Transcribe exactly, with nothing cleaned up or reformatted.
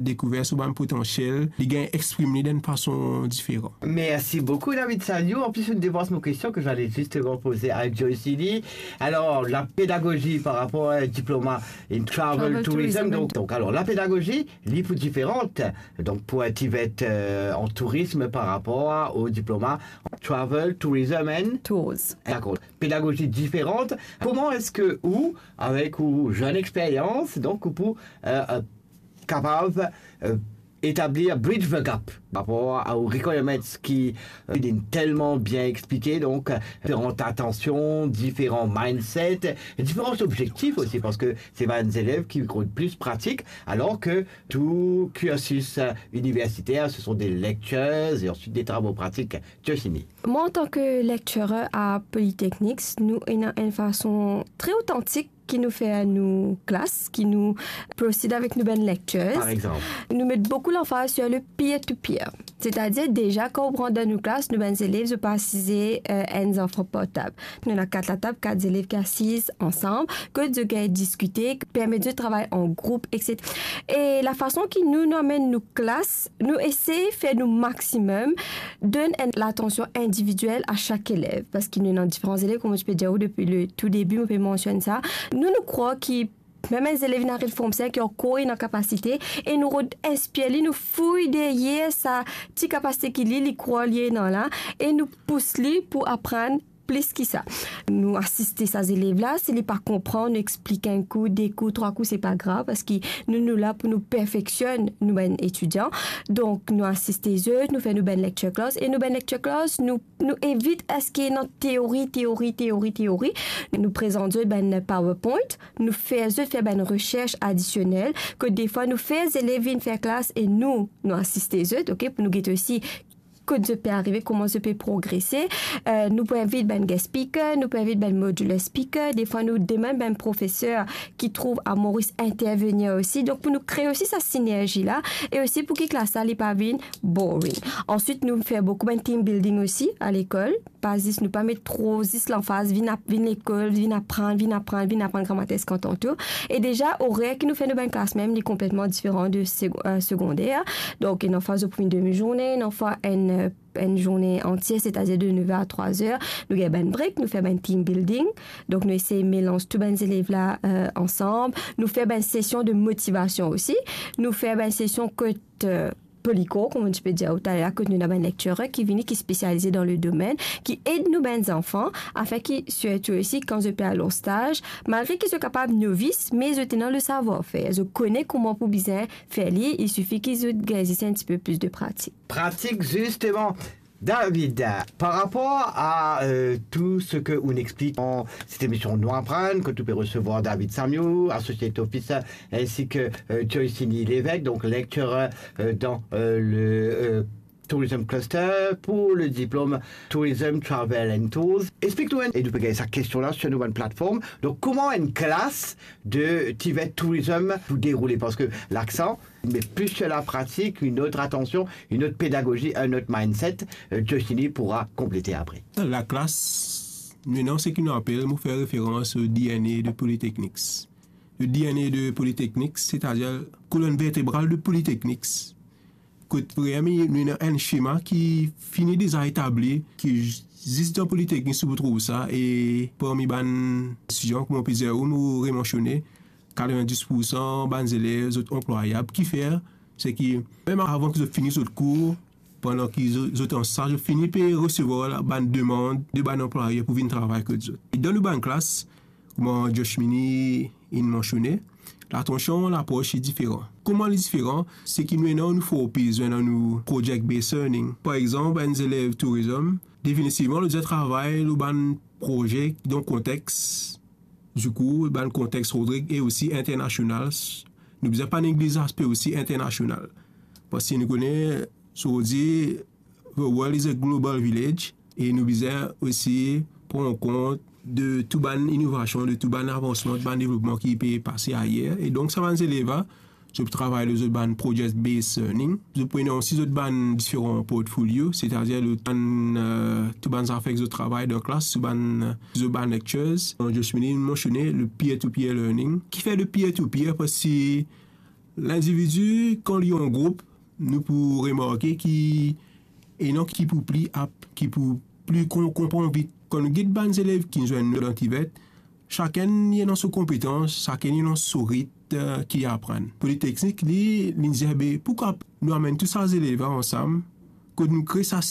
dekouver so bann potansiel, li gagn exprim li dan enn fason diferan. Merci beaucoup, David Saliou. En plus, une de vos questions que j'allais justement poser à Joyce Ini. Alors, la pédagogie par rapport à un diplôme in travel, travel tourism, tourism, donc, donc, alors, la pédagogie, li pou différente, donc, pour un TVET, euh, en tourisme par rapport au diplôme travel, tourism and tours. D'accord. Pédagogie différente. Comment est-ce que ou, avec ou jeune expérience, donc, ou pou, euh, euh, capable, euh, établir bridge the gap par rapport à, aux requirements qui, euh, est tellement bien expliqué, donc, euh, différentes attentions, différents mindsets, différents objectifs aussi, parce que c'est des élèves qui ont plus pratique, alors que tout cursus, euh, universitaire, ce sont des lectures et ensuite des travaux pratiques. Joyce Ini. Mwa, antan ke lecturer a Polytechnics, nou ena enn fason tre otantik ki nou fer nou klas, ki nou proceed avek nou bann lectures. Par exemple? Nou met boukou lanfaz sur le peer-to-peer. Setadir, deza, kan ou rant dan nou klas, nou bann zelev, zot pa asize, euh, enn zanfan par tab. Nou ena kat latab, kat zelev ki asiz ansam, kot zot gagn diskite, permet zot travay an group, etsetera. E lafason ki nou, nou amenn nou klas, nou esey fer nou maximum, donn enn latansion individiel a sak elev, parski nou ena diferan zelev, kouma mo ti pe dir ou depi le tou debi, mo pe mansionn sa. Nou, nou krwar ki mem enn zelev inn ariv Form Five ki ankor ena kapasite, e nou rod inspir li, nou fouy deryer sa ti kapasite ki li, li krwar li ena la, e nou pous li pou aprann plis ki sa. Nou asiste sa zelev la, si li pa konpran, nou explik enn kou, de kou, trwa kou, se pa grav, parski nou, nou la pou nou perfeksionn nou bann etidian. Donk, nou asiste zot, nou fer nou bann lecture class, e nou bann lecture class, nou, nou evit aski ena teori, teori, teori, teori. Nou prezant zot bann PowerPoint, nou fer zot fer bann resers adisionel, ke defwa nou fer zelev vinn fer klas e nou, nou asiste zot, ok, pou nou gete osi kot zot pe arive, kouma zot pe progrese. Euh, nou pou invit bann guest speaker, nou pou invit bann modular speaker. Defwa, nou demann bann profeser ki trouv a Moris intervenir osi. Donk, pou nou kree osi sa sinerzi la, e osi pou ki klas la, li pa vinn boring. Answit, nou fer boukou bann team building osi a lekol. Pa zis, nou pa met tro zis lanfaz, vinn ap-, vinn lekol, vinn aprann, vinn aprann, vinn aprann, gramatis kanton tou. E deza, orer ki nou fer nou bann klas mem, li konpletman diferan de seg-, euh, segonder. Donk, ena fwa zot pou vinn demi zourne, ena fwa enn, euh, enn zourne antie, setadir de nev er a trwa zer. Nou gagn bann break, nou fer bann team building. Donk, nou esey melanz tou bann zelev la, euh, ansam. Nou fer bann sesion de motivasion osi. Nou fer bann sesion kot, euh, Polycours, kouma ti pe dir ou taler, kot nou ena bann lecturer ki vini, ki spesialize dan le domenn, ki ed nou bann zanfan, afin ki, sirtou osi, kan zot pe al an staz, malgre ki zot kapav novis, me zot ena le savoir-faire. Zot kone kouma pou bizin fer li, il suffit ki zot gagn zis enn tipe plis de pratik. Pratik, zisteman. David, par rapport à, euh, tout ce que ou explique dans cette émission Nou Aprann, que tu peux recevoir David Samiou, Associate Officer, ainsi que, euh, Joyce Ini Lévesque, donc lecturer, euh, dans, euh, le, euh, Tourism Cluster pour le diplôme Tourism Travel and Tours. Explique-nous, et nous poser cette question-là sur nos plateformes. Donc, comment une classe de TVET Tourism vous déroule? Parce que l'accent met plus sur la pratique, une autre attention, une autre pédagogie, un autre mindset. Euh, Joyce Ini pourra compléter après. Laklas, nou ena seki nou apel, mo fer referans o DNA de Polytechnics. Le DNA de Polytechnics, setadir kolonn vertebral de Polytechnics. Kot premie, nou ena enn sema ki fini deza etabli, ki zis dan Polytechnics ou pou trouv sa, e parmi bann etidian, kouma plizier ou nou remansione, katrevindis poursan bann zelev, zot anplwayab. Kifer, seki mem avan ki zot fini zot kour, pandan ki zo-, zot an staz, zot fini pe resevwar la, bann demann de bann anplwayer pou vinn travay kot zot. E dan nou bann klas, kouma Joyce Ini inn mansione, latansion, lapros li diferan. Kouma li diferan? Seki nou ena nou four P's, nou ena nou project-based learning. Par exanp, enn zelev tourism, definitivman, li bizin travay lor bann proze dan kontex dikou, bann kontex Rodrig e osi internasional. Nou bizin pa negliz laspe osi internasional. Parski nou kone, so dir, the world is a global village, e nou bizin osi pran kont de tou bann inovasion, de tou bann avansman, tou bann devlopman ki pe pase ayer. E donk, sa bann zelev la, zot pou travay lor zot bann project-based learning. Zot pou ena osi zot bann diferan portfolio, setadir zot bann, euh, tou bann zafer ki zot travay dan klas, tou bann, euh, zot bann lectures. Joyce Ini mansione le peer-to-peer learning. Kifer le peer-to-peer? Parski Lindividi, kan li an group, nou pou remarke ki ena ki pou pli ap, ki pou pli kon-, konpran vit. Kan nou get bann zelev ki zwenn nou dan Tivet, sakenn li ena so konpetans, sakenn li ena so rit, eh, ki aprann. Politeknik, li, li dir, be, poukwa nou amenn tou sa zelev la ansam, kot nou kre sa